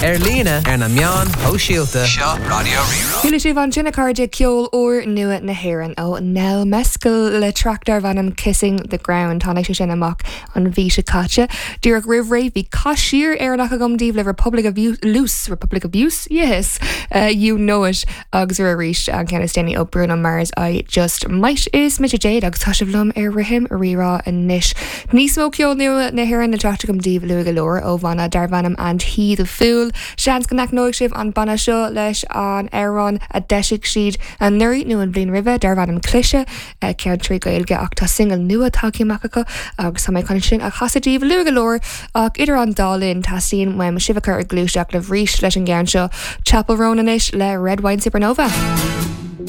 Ar líne, ar na meáin shóisialta. Seo Raidió Rí-Rá. Chuala sibh ansin a chairde ceol úr nua na hÉireann ó Nell Mescal le traic darb ainm Kissing the Ground. Tháinig sé sin amach an mhí seo caite. Díreach roimh ré bhí caisír Éireannach agam daoibh le Republic of Loose, Republic of Use? Yes! You Know It agus arís an ceann is déanaí ó Bruno Mars I Just Might. Is mise Jade agus tá sibh liom ar Rithim Rí-Rá anois. Níos mó ceol nua na hÉireann le teacht agam daoibh luath go leor ó bhanna darb ainm And He The Fool. Seans go n-aithneoidh sibh an banna seo leis an amhrán a d'eisigh siad anuraidh nó an bhliain roimhe darb ainm Cliseadh, ceann trí Ghaeilge ach tá singil nua tagtha amach acu agus tá mé chun sin a chasadh daoibh luath go leor ach idir an dá linn teastaíonn uaim sibh a chur ag gluaiseacht libh arís leis an gceann seo Chappell Roan anois le Red Wine Supernova.